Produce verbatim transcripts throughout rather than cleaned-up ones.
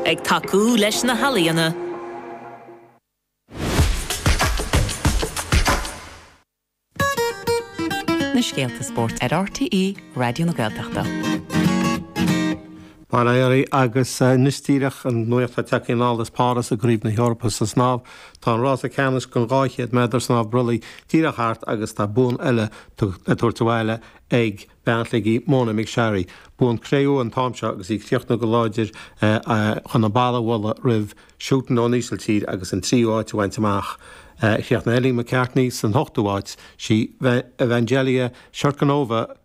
Ag tacú leis na healaíona. Na scéalta spóirt ar RTÉ Raidió na Gaeltachta. Bail ó Dhia oraibh agus anois díreach an nuacht atá tagtha anall as Páras i gCraobh na hEorpa sa snámh. Tá an rása ceannais don dhá chéad méadar snámh brollaigh díreach thart agus tá bonn eile le tabhairt abhaile ag bean Shligigh, Mona McSharry. Bonn cré-umha an t-am seo agus í ag críochnú go láidir chun an balla a bhualadh roimh Schuiten ón Ísiltír agus an tríú háit a bhaint amach. Chríochnaigh Ellie McCartney san ochtú háit. Sí Evangelia Sherkinova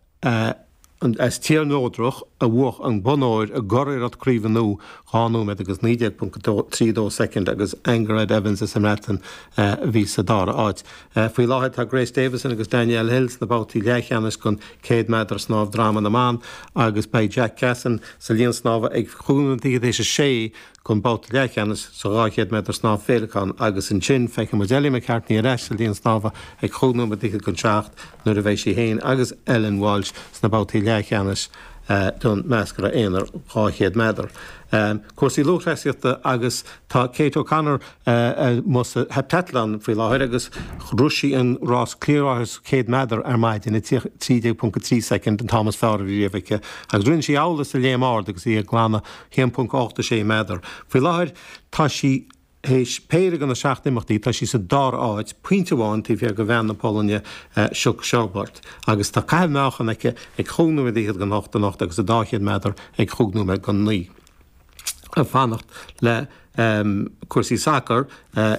as Tír na Neodrach a bhuaigh an bonn óir i gcuriarracht craoibhe nua, dhá nóiméad agus naoi déag ponc trí dó soicind agus Angharad Evans as an mBreatain a bhí sa dara háit. Faoi láthair tá Grace Davison agus Danielle Hill sna babhtaí leathcheannais don céad méadar snámh droma na mban agus beidh Jack Cassin sa líon snámha ag chúig nóiméad fichead théis a sé don babhta leathcheannais sa dhá chéad méadar snámh féileacán agus ansin feicfidh muid Ellie McCartney ar ais sa líon snámha ag chúig nóiméad fichead don seacht nuair a bheidh sí féin agus Ellen Walshe sna babhtaí leathcheannais don meascra aonair dhá chéad méadar. Cúrsaí lúthchleasaíochta agus tá Kate O'Connor amuigh sa heptathlon faoi láthair agus shroich sí an rás cliathrátha céad méadar ar maidin i trí déag ponc a trí soicind, an t-am is fearr a bhí riamh aici agus rinne sí amhlaidh sa léim ard agus í ag glanadh a haon ponc ocht a sé méadar. Faoi láthair tá sí théis péire de na seacht n-imeachtaí, tá sí sa dara háit, pointe amháin taobh thiar de bhean na Polainne, Szucs-Szczerbert, agus tá caitheamh meáchan aici ag chúig nóiméad fhichead don hocht anocht agus sa dá chéad méadar ag chúig nóiméad don naoi. Ag fanacht le cúrsaí sacair,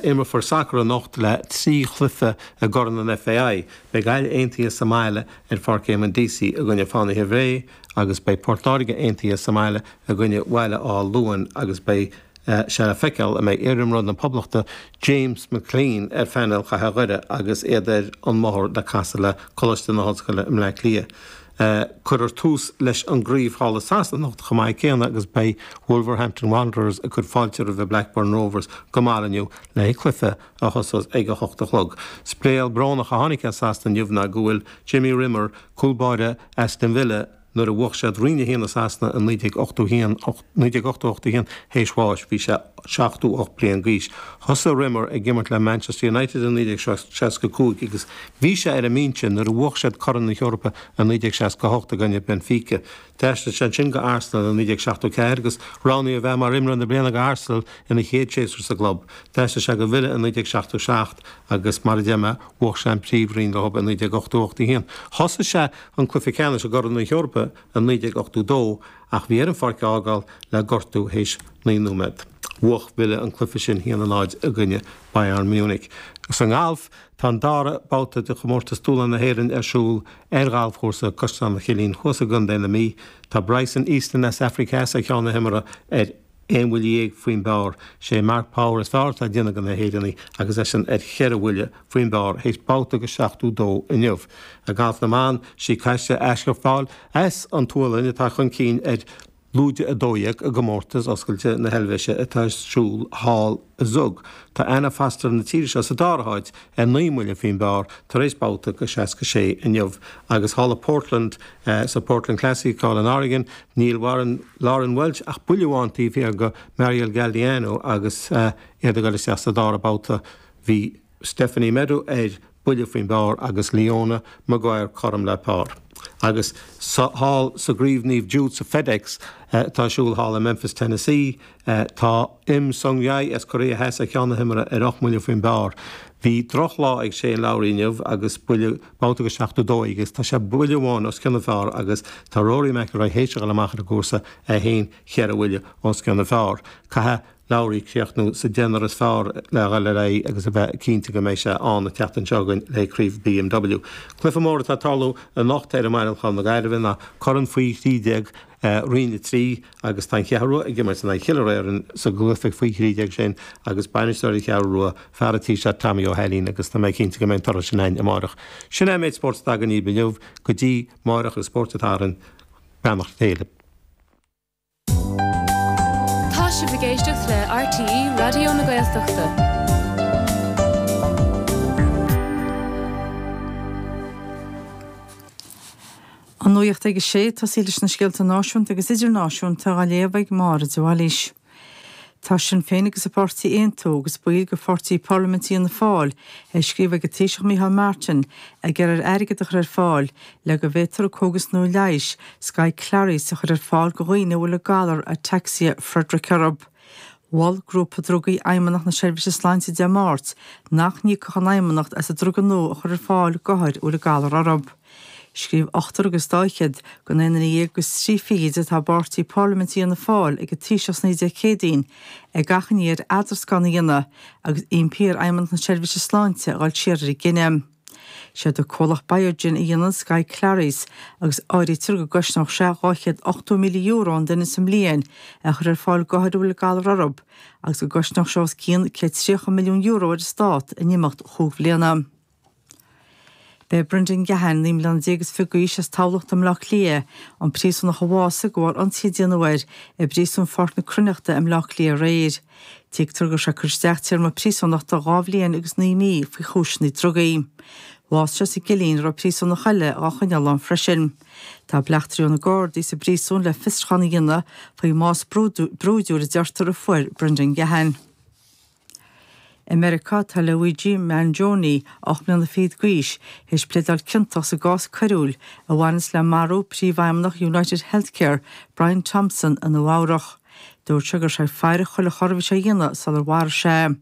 imreofar sacar anocht le trí chluiche i gCorn an FAI. Beidh Gaillimh Aontaithe sa mbaile ar Pháirc Éamonn Deasy i gcoinne Fánaithe Bhré agus beidh Port Láirge Aontaithe sa mbaile i gcoinne Bhaile Átha Luain agus beidh sé le feiceáil an mbeidh iarimreoir na Poblachta James McClean ar phainéal Chathair Dhoire agus iad ar an mbóthar le casadh le Coláiste na hOllscoile i mBleá Cliath. Cuirfear tús leis an gcraobh thall i Sasana anocht chomh maith céanna agus beidh Wolverhampton Wanderers ag cur fáilte roimh Blackburn Rovers go mall inniu le cluiche a thosós ag a hocht a chlog. Scéal brónach a tháinig as Sasana inniu ná go bhfuil Jimmy Rimmer, cúl báire Aston Villa, Nuair a bhuaigh siad Roinn a haon i Sasana i naoi déag ochtó haon, naoi déag ochtó ocht a haon, théis bháis, bhí sé seachtó ocht bliain d'aois. Thosaigh Rimmer ag imirt le Manchester United i naoi déag seasca cúig agus bhí sé ar an mbinse nuair a bhuaigh siad Corn na hEorpa i naoi déag seasca hocht i gcoinne Benfica. D'aistrigh sé ansin go Arsenal i naoi déag seachtó ceathair agus roghnaíodh a bheith mar imreoir na bliana ag Arsenal ina chéad séasúr sa gclub. D'aistrigh sé go Villa i naoi déag seachtó seacht agus, mar a deir mé, bhuaigh sé an Príomhroinn leo i naoi déag ochtó ocht a haon. Thosaigh sé an cluiche ceannais i gCorn na hEorpa i naoi déag ochtó dó ach bhí air an pháirc a fhágáil le gortú théis naoi nóiméad. Bhuaigh Villa an cluiche sin a haon a náid i gcoinne Bayern Munich. Sa ngalf, tá an dara babhta de chomórtas Dúshlán na hÉireann ar siúl ar ghalfchúrsa Caisleán an Chillín thuas i gContae na Mí. Tá Bryson Easton as Afraic Theas ar cheann na himeartha ar aon bhuille dhéag faoin bpar. Sé Mark Power is fearr atá ag déanamh de na hÉireannaigh agus eisean ar cheithre bhuille faoin bpar théis babhta de seachtó dó inniu. I ngalf na mban, sí Kaisa Askerfall as an tSualainn atá chun cinn ar lúide a dó dhéag i gcomórtas oscailte na hEilvéise atá ar siúl thall i Zug. Tá Anna Foster na tíre seo sa dara háit ar naoi mbuille faoin bpar tar éis babhta de seasca sé inniu agus thall i Portland sa Portland Classic thall in Oregon níl Warren Lauren Welch ach buille amháin taobh thiar de Mariel Galdeano agus iad ag dul isteach sa dara babhta. Bhí Stephanie Meadow ar buille faoin bpar agus Leona Maguire cothrom le par. Agus thall sa gCraobh Naomh Jude sa FedEx atá ar siúl thall i Memphis, Tennessee, tá Im Sung-jae as Cóiré Theas ar cheann na himeartha ar ocht mbuille faoin bpar. Bhí drochlá ag Shane Lowry inniu agus buille babhta de seachtó dó aige agus tá sé buille amháin os cionn an phar agus tá Rory McIlroy théis a dhul amach ar an gcúrsa é féin cheithre bhuille os cionn an phar. Caithfidh Lowry críochnú sa deichniúr is fearr le dhul ar aghaidh agus a bheith cinnte go mbeidh sé ann an tseachtain seo chugainn le Craobh BMW. Cluiche mór atá ag tarlú anocht ar an mbaile thall na Gaillimhe ná Corn Faoi thrí déag Roinn a trí agus tá an Cheathrú Rua ag imirt in aghaidh Chill Réarann sa gcluiche faoi thrí déag sin agus bainisteoir an Cheathrú Rua, fear an tí seo Tommy Ó hAilín agus tá mé cinnte go mbeidh an toradh sin againn amárach. Sin é an méid spóirt atá againn inniu go dtí máireach agus Spórt an tSathairn. Beannacht Dé libh. Tá sibh ag éisteacht le RTÉ Raidió na Gaeltachta. An nuacht ag a sé, tosaí leis na scéalta náisiúnta agus idirnáisiúnta á léamh ag Máire de Bhailís. Tá Sinn Féin agus an páirtí Aontú agus baill de pháirtí Parlaiminte Fhianna Fáil ag scríobh ag an Taoiseach Micheál Martin ag iarraidh airgead a chur ar fáil le go bhféadfar cógas nua leighis Skyclarys a chur ar fáil do dhaoine a bhfuil an galar Ataxia Friedreich orthu. Mhol grúpa drugaí Fheidhmeannacht na Seirbhíse Sláinte Dé Máirt nach n-íocfadh an Fheidhmeannacht as an druga nua a chur ar fáil d'othair a bhfuil an galar orthu. Scríobh ochtar agus dá fhichead den aon duine dhéag agus trí fichid atá i bpáirtí Parlaiminte Fhianna Fáil ag an Taoiseach san oíche Dé Céadaoin ag achainí air eadrascán a dhéanamh agus impí ar Fheidhmeannacht na Seirbhíse Sláinte a dhul siar ar a gcinneadh. Siad an comhlacht Biogen a dhéanann Skyclarys agus áirítear go gcosnódh sé dhá chéad ochtó míle euro an duine sa mbliain a chur ar fáil d'othair a bhfuil an galar orthu agus go gcosnódh sé os cionn céad tríocha milliún euro ar an stát in imeacht chúig bhliana. B'é Brendan Gahan, naoi mbliana déag is fiche d'aois as Tamhlacht i mBaile Átha Cliath, an príosúnach a bhásaigh de bharr ionsaí a déanadh air i bpríosún Pháirc na Cruithneachta i mBaile Átha Cliath aréir. Tuigtear go raibh sé ag cur isteach téarma príosúnachta dhá bhliain agus naoi mí faoi chúiseanna drugaí. Bhásaigh sé sa gcillín a raibh príosúnach eile á choinneáil ann freisin. Tá bleachtairí ó na Gardaí sa bpríosún le fiosrúchán a dhéanamh faoin mbás brúidiúil a deirtear a fuair Brendan Gahan. I Meiriceá tá Luigi Mangione ocht mbliana fichead d'aois théis pléadáil ciontach sa gcás coiriúil a bhaineas le marú príomhfheidhmeannach United Healthcare Brian Thompson i Nua-Eabhrac. Dúirt sé go raibh sé ag faire chuile chor a bhí sé a dhéanamh sular mharaigh sé.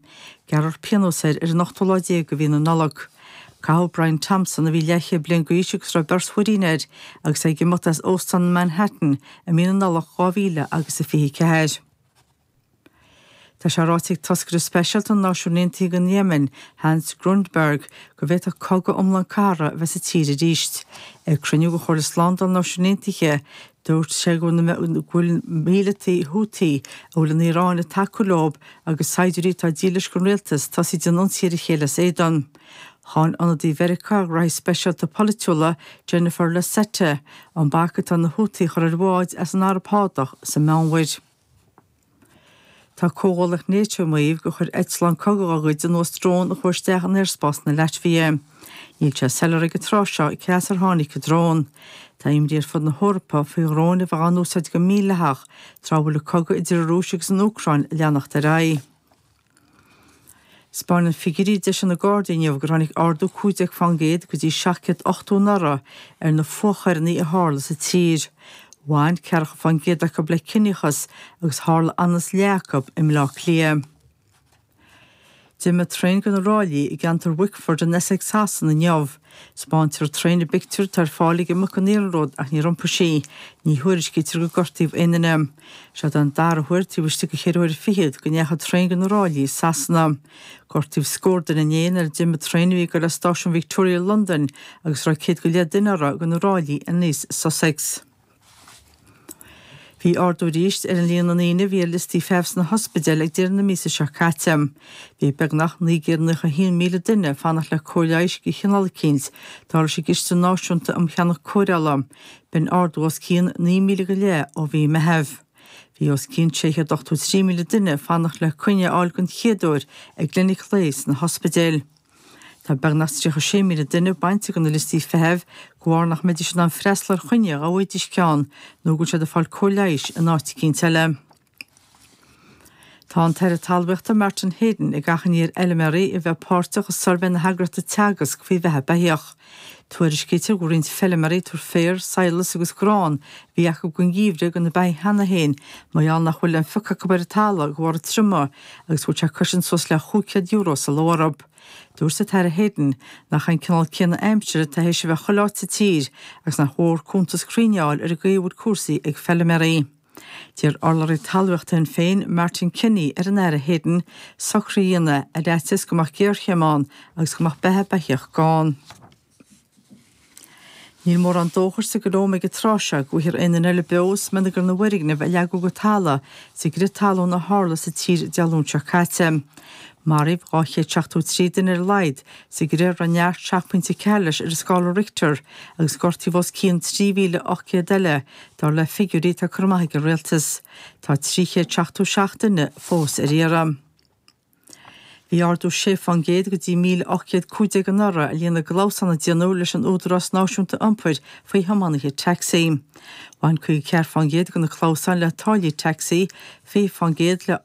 Gearrfar pionós air ar an ochtú lá déag de mhí na Nollag. Caitheadh Brian Thompson a bhí leathchéad bliain d'aois agus raibh beirt mhuirín air agus é ag imeacht as óstán Manhattan i mí na Nollag dhá mhíle agus a fiche ceathair. Tá sé ráite ag toscaire speisialta na Náisiún Aontaithe don Yemen, Hans Grundberg, go bhféadfadh cogadh iomlán cathartha a bheith sa tír arís. Ag cruinniú de Chomhairle Slándála na Náisiún Aontaithe, dúirt sé go bhfuil míleataigh Houthi a bhfuil an Iaráin ag tacú leo agus saighdiúirí atá dílis don rialtas tosaithe ag déanamh ionsaí ar a chéile as éadan. Cháin ionadaí Mheiriceá gnóthaí speisialta polaitiúla Jennifer Lasetta an bac atá na Houthi a chur ar bháid as an Araib Shádach sa Meánmhuir. Tá comhghuaillíocht NATO ag maíomh gur chuir eitleán cogaidh dá gcuid anuas drón a chuaigh isteach in aerspás na Laitvia. Níl sé soiléir ag an tráth seo cé as ar tháinig an drón. Tá imní ar fud na hEorpa faoi dhróin a bheith á n-úsáid go mídhleathach tráth a bhfuil an cogadh idir an Rúis agus an Úcráin ag leanacht ar aghaidh. Spáineann figiúirí a d'eisigh na Gardaí inniu gur tháinig ardú cúig déag faoin gcéad go dtí seacht gcéad ochtó anuraidh ar na fuathchoireanna a tharla sa tír. Bhain ceathracha faoin gcéad acu le ciníochas agus tharla anuas leath acu i mBaile Átha Cliath. D'imigh traein de na ráillí i gceantar Wickford in Essex Sasana inniu. Spáintear an traein i bpictiúr atá ar fáil ag imeacht an iarnróid ach níor iompaigh sí. Ní thuairiscítear gur gortaíodh aon duine. Seo an dara huair taobh istigh de cheithre huaire fichead go ndeachaigh traein de na ráillí i Sasana. Gortaíodh scór duine inné nuair a d'imigh traein a bhí ag dul as stáisiún Victoria Londain agus raibh céad go leith duine uirthi de na ráillí aníos Sussex. Bhí ardú arís ar an líon na ndaoine a bhí ar liostaí feithimh sna hospidéil ag deireadh na míosa seo caite. Bhí beagnach naoi gcéad nócha a haon míle duine ag fanacht le cóir leighis de chineál eicínt, dar leis an gCiste Náisiúnta um Cheannach Cóireála. B'in ardú os cionn naoi míle go leith ó mhí Meitheamh. Bhí os cionn sé chéad ochtó trí míle duine ag fanacht le coinne a fháil den chéad uair ag gclinic lae sna hospidéil. Tá beagnach tríocha sé míle duine bainte de na liostaí feithimh de bharr nach mbeidís in ann freastal ar choinne dá bhfaighidís ceann nó go bhfuil siad ag fáil cóir leighis in áit eicínt eile. Tá an tAire Talmhaíochta Martin Heydon ag achainí ar fheilméaraí a bheith páirteach i suirbhé na heagraíochta Teagasc faoi bheatha beithíoch. Tuairiscítear go bhfuil roinnt feilméaraí ag tabhairt féar, sadhlas agus grán a bhí acu don gheimhreadh do na beithígh cheana féin mar gheall nach bhfuil aon phioc acu ar an talamh de bharr an triomaigh agus go bhfuil sé ag cosaint suas le chúig chéad euro sa ló orthu. Dúirt an tAire Heydon nach an cineál céanna aimsire atá théis a bheith chuile áit sa tír agus nach mhór cuntas cruinn a fháil ar an gcaoi a bhfuil cúrsaí ag feilméaraí. D'iarr urlabhraí talmhaíochta Shinn Féin Martin Kenny ar an Aire Heydon socruithe a dhéanamh ar fhaitíos go mbeadh géarchéim ann agus go mbeadh beatha beithíoch gann. Níl mórán dóchais sa gColóim ag an tráth seo go bhfaighfear aon duine eile beo as smionagar na bhfoirgneamh a leagadh go talamh sa gcrith talún a tharla sa tír Dé Luain seo caite. Maraíodh dhá chéad seachtó trí duine ar a laghad sa gcrith a raibh neart seacht bpointe ceathair leis ar an scála Richter agus gortaíodh os cionn trí mhíle ocht gcéad eile, dar le figiúirí atá curtha amach ag an rialtas. Tá trí chéad seachtó seacht duine fós ar iarraidh. Bhí ardú sé faoin gcéad go dtí míle ocht gcéad cúig déag anuraidh ar líon na gclamhsán a déanadh leis an Údarás Náisiúnta Iompair faoi thiománaithe tacsaí. Bhain caoga ceathair faoin gcéad de na clamhsáin le táillí tacsaí, fiche faoin gcéad le